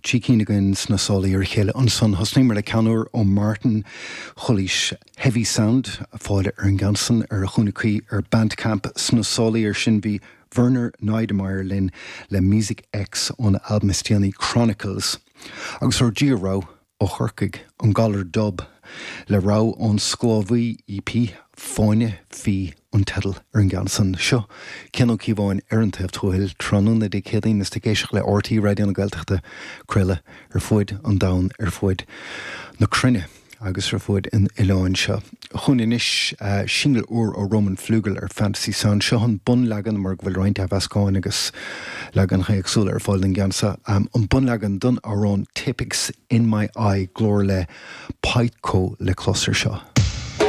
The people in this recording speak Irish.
3 cinn againn sna sálaí ar a chéile ansan. Thosnaíomar le ceann úr ó Martin Chulaois, Heavy Sound, fáil ar an gceann san ar a chúnamh cuí ar Bandcamp. Sna sálaí ar sin bhí Werner Neidermayer linn le Music X óna albam is déanaí Chronicles. Agus ár dtríú rogha ó Chorcaigh, An Galar Dub, le rogha ón Sclábhaí EP, Fáinne Fí an teideal ar an gceann san. Seo Cian Ó Cíobháin ar an taobh tuathail, tráthnóna Dé Céadaoin is tú ag éisteacht le RTÉ Raidió na Gaeltachta, craoladh ar fuaid an domhain, ar fuaid na cruinne agus ar fuaid an oileáin seo. Chugainn anois singil úr ó Roman Flügel ar Fantasy Sound. Seo an bunleagan mar go bhfuil roinnt athmheascáin agus leaganacha éagsúla ar fáil den gceann seo. An bunleagan don amhrán Tipp-Ex In My Eye, glór le Pytko le clos ar seo.